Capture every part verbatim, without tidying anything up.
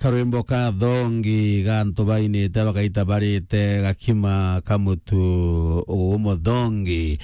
Karwimbo ka thongi ga antu bainite bakaita barite gakima ka mutu umuthongi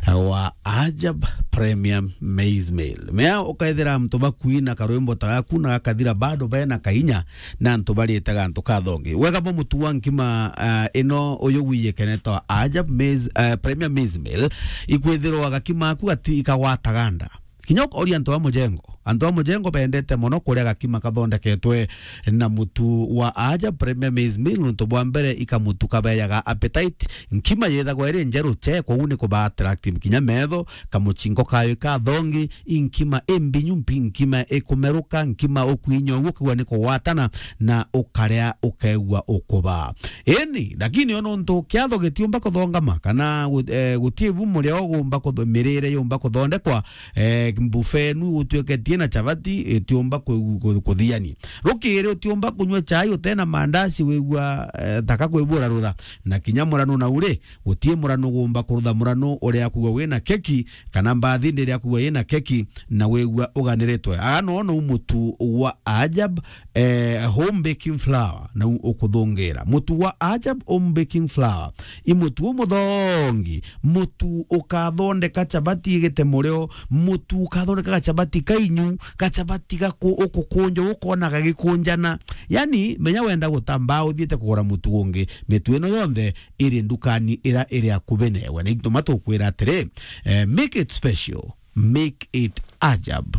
wa Ajab Premium Maize Meal. Mea ukaithira antu bakuina karwimbo ta gaku na gakathira bado bena kainya na antu barite gantu ka thongi. Wega bo mutu wa nkima, ah, ino uyu gwiyikene ta Ajab Maize, eh, Premium Maize Meal, ikwithirwa gakima aku gati ikagwataga nda. Kinya ukoria antu a mujengo. Antu a mujengo bendete mono kuria gakima kathondeketwe na mutu wa Ajab Premium Maize Meal, nontu bwa mbere ikamutu kabeyaga appetite. Nkima yithagwa iri njeru che, kwou ni kuba attractive kinya metho, kamuchingo kayo ka thongi, i nkima imbinyu mpi, nkima ikumeruka, nkima ukwinywa uguo, ukigua ni kugwatana, na ukaria ukegua ukuba. Ini, lakini o nontu kiatho gitiumba kuthongama, kana gu-, eh, guti bu muria ugumba kutho-, mirire yumba kuthondekwa, eh, mbufe inu utuiketie na chabati, itiumba ku-, ku-, kuthiani. Rukiri utiumba kunywa chai utena mandazi wigua, eh, taka kwibura rutha. Na kinya murano na uri, guti murano ugumba kurutha murano uria kugwa wina keki, kana mbathi ndiria kugwa yina keki, na wigua uganiritwe. Aa no no mutu wa Ajab, eh, home baking flour, na u-, ukuthungira. Mutu wa Ajab home baking flour. I mutu umuthongi, mutu ukathondeka chabati igite murio, mutu ukathondeka gachabati kainyu, gachabati gaku-, ukukunja, ukona gagikunjana. Yani, menya wenda gutamba uthiite kugura mutu ungi, mitu ino yonthe iri ndukani ira iri akubi newe. Na ituma tukwira atiri, eh, make it special, make it Ajab.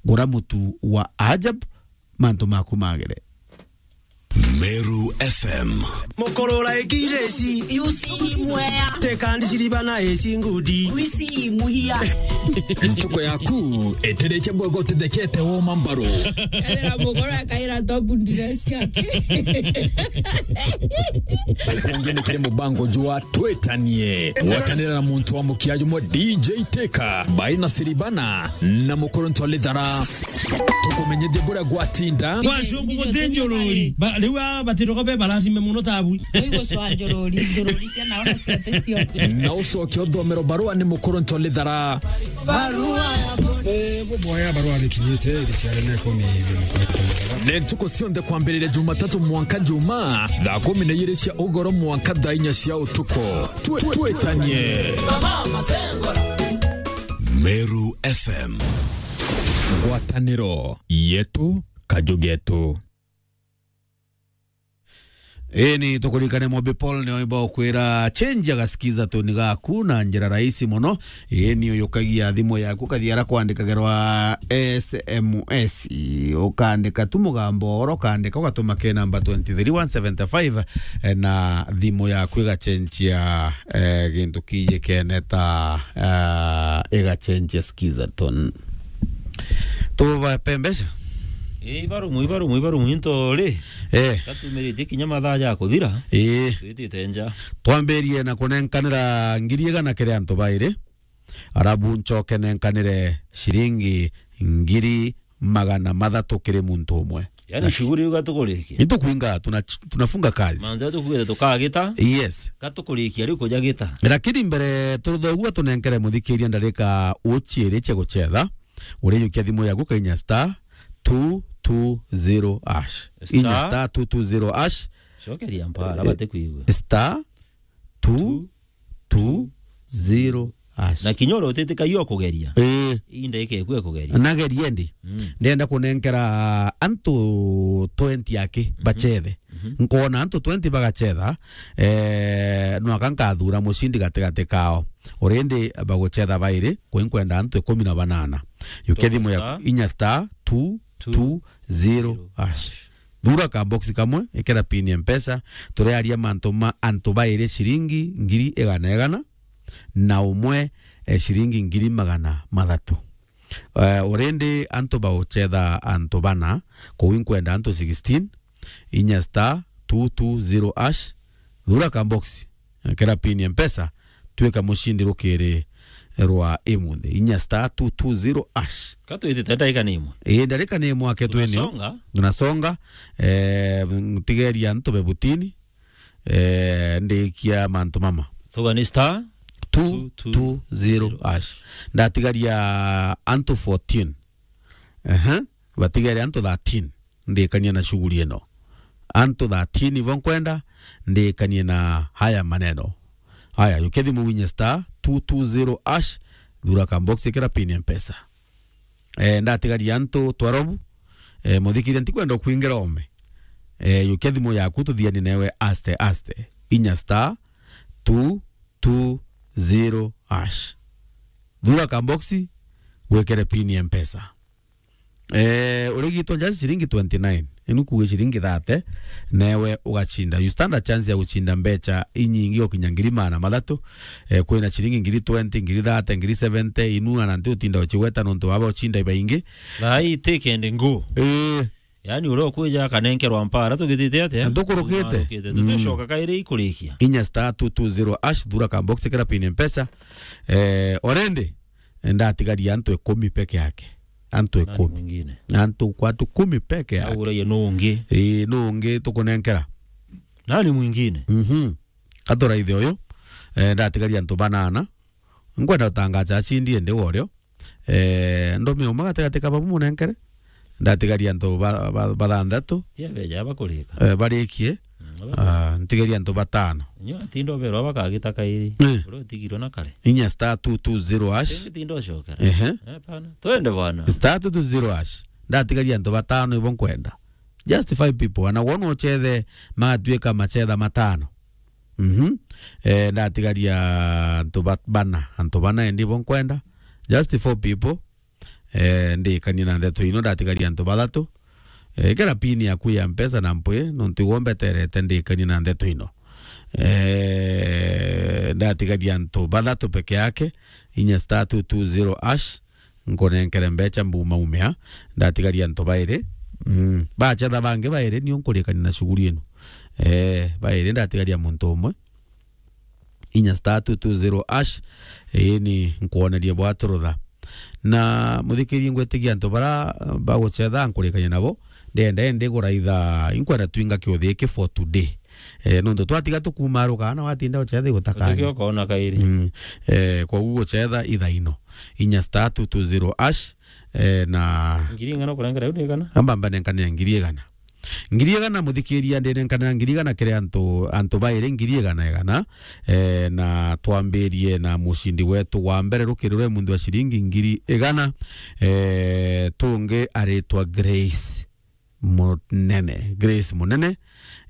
Gura mutu wa Ajab, mantu maku magire. Meru F M. Mukurura ikireci. Yusi mwea. Teka ndiciriba na eci ngudi. Wisi muhia. Ntuko yaku itirikia bwega utithekete woma mbaru. Ethira mugoro akaira top dress yake. Kungi ni kiri mubango jwa Twitanie. Gwatanira na muntu wa mukia jumwe D J Teka, Baina Siribana, na Mukuru Ntwalithara. Tukumenyithie buria gwatinda. Kwa cungu guti njururi. Ba-, riu aa batiroka be baracime muno tabu. Oigocwa njururi, njururi cia nao na cia tecio. Na ucoke uthomero barua ni Mukuru Ntwalithara. Barua ya ku-, eh, buboya barua nikinyite, iri ciare na ikumi ibiri. Ni ntuku cionthe kwambiriria Jumatatu mwanka Juma, thaa kumi na ijiri cia ugoro mwanka thaa inya cia utuku. Twi-, twitanie. Meru F M. Ngwataniro yetu, kaju getu. Ii ni tukuririkane Mobi Paul ni oimba ukwira change agasikiza tuni gaku na njira rahisi muno. Ii ni uyukagia thimu yaku, ukathia ara kwandikagirwa S M S. Ukandika tu mugambo oro, ukandika ugatuma ke namba twenty three one seventy five, eh, na thimu yaku igacenjia, eh, gintu kijikene ta, eh, igacenjia skiza tone. Tubape mbeca? Ii, ibarumu, ibarumu, ibarumu into ri. Eh. Gatumiritie kinya mathaa ja kuthira. Ii. Twitite nja. Twambirie na kunenkanira ngiri igana kiri antu bairi. Arabu ncoke nenkanire ciringi ngiri magana mathatu kiri muntu umwe. Yani, shughuli iu gatukurikia. Nitukwinga, tuna-, tunafunga kazi. Manze tukwire tukagita. Yes. Gatukurikia riu kuja gita. Lakini mbere turuthogua tunenkere muthikiria ndarika uchiiri cia gucetha. Urijukia thimu yaku kainya star two two zero hash. Star. Inya star two two zero hash. Cokeria mpara, eh, bate kwigua. Star two two zero hash. Na kinya uria utitikagia ukugeria. Eh. Ii ndagika iku ikugeria. Nageria ndi. Mm. Ndenda kunenkera antu twenty aki, mhm, bacethe. Mhm. Nkona antu twenty bagacetha, eh, nwaka nkathura mucindi gatigati kao. Already bagucetha bairi, kwi nkwenda antu ikumi na banana. Yukia thimu ya star, inya star two two zero hash. Thura ka box kamwe, ikira pin ya Mpesa, turiaria mantu ma antu bairi ciringi ngiri igana igana, na umwe, eh, ciringi ngiri magana mathatu. Eh, already antu baucetha antu bana, kuu inkwenda antu sixteen, inya star two two zero hash, thura ka box, ikira pin ya Mpesa, twika mucindi rukiri rwa imunthi. Inya star two two zero hash. Ka twitite ndaika ni imwe? Ii, ndarika ni imwe ake twinio. Tunasonga. Tunasonga. Eh, tigeria antu be butini. Eh, ndikia mantu mama. Tuga ni star two two zero hash. Ndatigaria antu fourteen. Ehe. Batigere antu thirteen. ndikanie na shughuli ino. Antu thirteen ibo nkwenda ndikanie na haya maneno. Haya, yukia thimu winye star two two zero hash, thura ka box, ikira pin ya Mpesa. Eh, ndatigaria antu twelve, eh, muthikiria, ntikwenda kwingira ome. Eh, yukia thimu yaku tuthiani newe aste aste. Inya star two two zero hash. Thura ka box, wikire pin ya Mpesa. Eh, urigitwa just ciringi twenty-nine. Inu kuuga ciringi thirty, newe ugacinda. You stand a chance ya gucinda mbecha inyingi ukinya ngiri magana mathatu. Eh, kwina ciringi ngiri twenty, ngiri thirty, ngiri seventy, inu ana nti utinda ucigweta nontu baba ucinda ibaingi. Thaa ii take and go. Eh. Yaani uria ukwija akanenkerwa mpara tugitite atia? Na tukurukite. Tumarukite. Mm. Tutucoka kairi ikurikia. Inya star two two zero hash, thura ka box, ikira pin Mpesa. Eh, already, ndatigaria antu ikumi peke yake. Antu ikumi. Nani mwingine? Antu kwatu kumi peke yake. Au uraie nu ungi? Ii, nu ungi tukunenkera? Nani mwingine? Mhm. Katuraithe uyu. Eh, ndatigaria antu banana. Nkwenda gutangaza acindi ndi worio. Eh, ndumi umwe gatigati ka babu munenkere. Ndatigaria antu ba, ba, bathanthatu. Tia beja bakurika. Eh, barikie. Mm, aba- Ah, ntigaria antu batano. Nyo atinda oberwa bakagita kairi. Eh. Uria utigirwe na kare. Inya star two two zero hash. Tingi tinda ucokera. Ehe. Eh, pana. Twende bwana. Star two two zero hash. Ndatigaria antu batano ibo nkwenda. Just five people. Ana wona uchethe magatuika machetha matano. Mhm. Eh, ndatigaria antu ba-, bana. Antu bana endi ibo nkwenda. Just four people. Eh, ndikanie na ndeto ino, ndatigaria antu bathatu. Eh, kira pin yaku ya Mpesa na mpwi, nontu igwo mbeterete, ndikanie na ndeto ino. Eh, ndatigaria antu bathatu peke yake, inya star two two zero hash, nkunenkere mbecha mbuma umia, ndatigaria antu bairi. Mm, bachetha bangi bairi, nio nkurikania na shughuli ino. Eh, bairi, ndatigaria muntu umwe. Inya star two two zero hash, ii ni nkwonerie bwaturutha. Na muthikirie, ngwitigia antu bara baguchetha nkurikania nabo, ndenda indi guraitha, inkwenda twinga kiuthi giki for today. Eh, nontu twatiga tukumaruka, na watinda uchetha igutaka. Utikio kona kairi. Mm. Eh, koguo guchetha ithaino. Inya star two two zero hash, eh, na ngiri ing'ana ukurengera riu ni igana? Amba mbanenkanira ngiri igana. Ngiri igana, muthikiria, ndinenkanira ngiri igana kiri antu, antu bairi ngiri igana igana, eh, na twambirie na mucindi wetu wa mbere rukiri rwe munthi wa ciringi ngiri igana, eh, tungi aritwa Grace Munene. Grace Munene,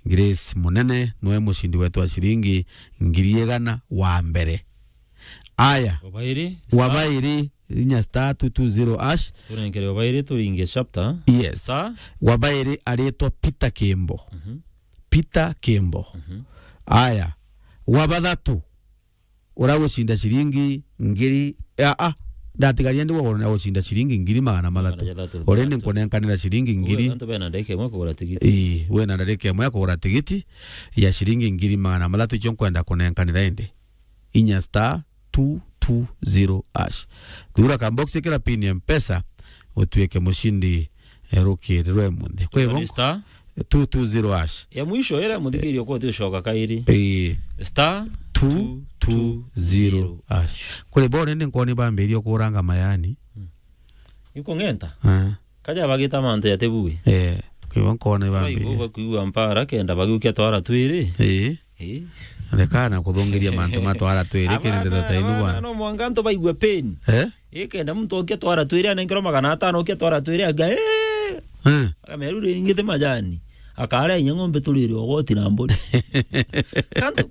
Grace Munene niwe mucindi wetu wa ciringi ngiri igana wa mbere. Aya. Wa bairi, wa star. Bairi, inya star two two zero hash. Tunenkere wa bairi, turinge chapter. Yes. Star. Wa bairi aritwa Peter Kimbo. Mhm. Peter Kimbo. Mhm. Aya. Wa bathatu, uragucinda ciringi ngiri, a, a, ndatigaria ndi wagona gucinda ciringi ngiri magana mathatu. Magana mathatu. Already nkunenkanira ciringi ngiri. Antu bena ndagika imwe kugura tigiti. Ii, wina ndagika imwe ya kugura tigiti ya ciringi ngiri magana mathatu, icio nkwenda kunenkanira indi. Inya star two two zero hash. Thura ka box, ikira pin ya Mpesa, utuike mucindi, eh, rukiri rwe munthi. Kwi bo? Ni star two two zero hash. Ya mwisho ira muthikirio kwa uti ucoka kairi. Ii. Star two two zero hash. Kuri bo rindi nkwoni bambirie kuranga mayani. Hmm. Ikung'enta? Ah. Kaja bagita mantu ya tebui. Eh, kwi bo nkwoni bambirie. Baigua bakuigua mpara kenda bagiukia twara twiri. Ii. Ii. Rekana kuthungiria mantu ma twara twiri kiri ndeto ta inu bwana. No mwanka antu baigua pain. Eh? Ii, kenda muntu okia twara twiri anenkerwa magana atano, okia twara twiri aga, eh. Eh. Akameru ringi ti majani. Akarea inya ng'ombe turire ogoti na mburi. Kantu,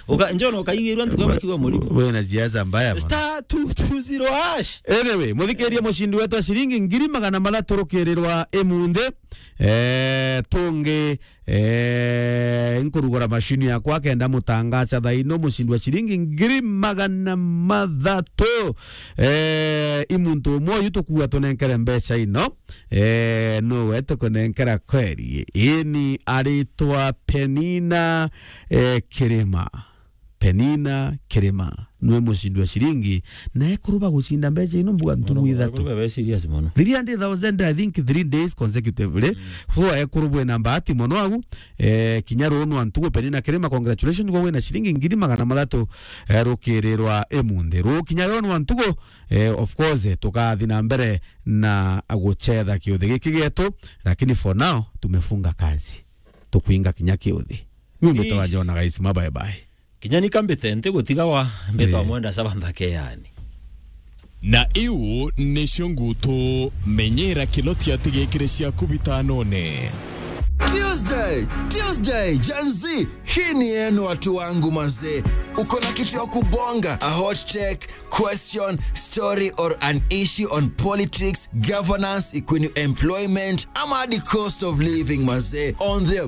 uka-, njona ukaigwirwa ntuku bakiwa murimo. Wina siasa mbaya bwana. Star two two zero hash. Anyway, muthikirie mucindi wetu wa ciringi ngiri magana mathatu rukirirwa imunthi. Eh, tungi, eh, nkurugura mashini yakwa kenda mutangacha thaino mucindi wa ciringi ngiri magana mathatu. Eh, i muntu umwe uyu tukuwa tunenkere mbeca ino. Eh, nowe tukunenkera kweri. Ini aritwa Penina, eh, Kirima. Penina Kirima nwe mucindi wa ciringi, na ekuru bagucinda mbeca ino mbuga ntugu ithatu. Ekuru babe serious mono. Three hundred thousand, I think, three days consecutively. Mm. So, ekuru bwina mbati mono agu, eh, kinya ruu nwa ntugu Penina Kirima, congratulations, gwe wina ciringi ngiri magana mathatu, eh, rukirirwa imunthi. Ruu kinya ruu nwa ntugu, eh, of course, eh, tukathi na mbere na gucetha kiuthi giki gietu, lakini for now, tumefunga kazi. Tukwinga kinya kiuthi. Ni mbetawa Jona, guys, ma bye bye. Kinya ni kambite nti gutiga wa mbetawa Mwenda Saba nthake yani. Na iu nicio ngutu, menyera kilo tia tigikire ciaku bitanone. Tuesday, Tuesday, Gen Z, hii ni yenu watu wangu mazee. Uko na kitu ya kubonga, a hot take, question, story or an issue on politics, governance, ikuni employment, ama the cost of living mazee, on the